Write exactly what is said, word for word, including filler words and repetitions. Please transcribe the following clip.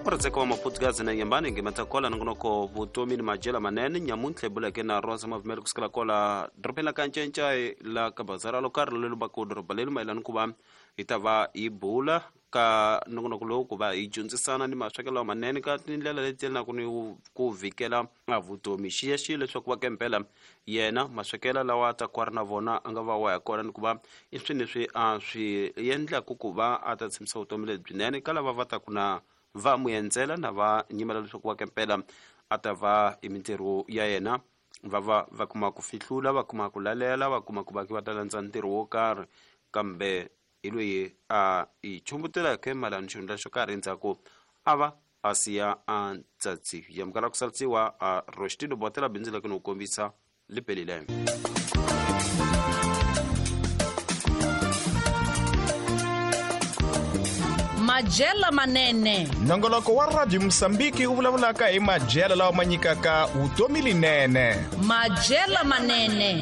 Murhandzeka wa Maputugaz na Nyambani ngemata kola nongonoko vutomi ni majela manene nyamuntlha hi buleke na Rosa Mavumeli kusukela kola dorobeni la ka Ncencai la ka bazara lo karhi lelu va ku doroba leli mayelana ku va hi ta va hi bula ka nongonoko lowu ku va hi dyondzisana ni maswekelo lamanene ka tindlela leti yelanaka ni ku vhikela a vutomi. Xiyaxiya leswaku va kempela yena maswekelo lawa a ta ku a ri na vona a nga va wa ya kona ni ku va i swilo leswi a swi endlaku ku va a ta tshembisa vutomi lebyinene ka lava va taku na va n'wi endzela na va nyimela leswaku va kempela a ta va hi mintirho ya yena va va va kuma ku fihlula, va kuma ku lalela, va kuma ku va va ta landza ntirho wo karhi, kambe hi loyi a hi chumbutelaka mayelana xihundla xo karhi endzhaku a va a siya a ntsatsi yamukela ku salisiwa a Rostino botela bindzu leki ni ku kombisa li pelile. Majela manene. Nongoloko wa Radio Mosambiki wu vulavulaka hi majela lawa ma nyikaka vutomi linene. Majela manene.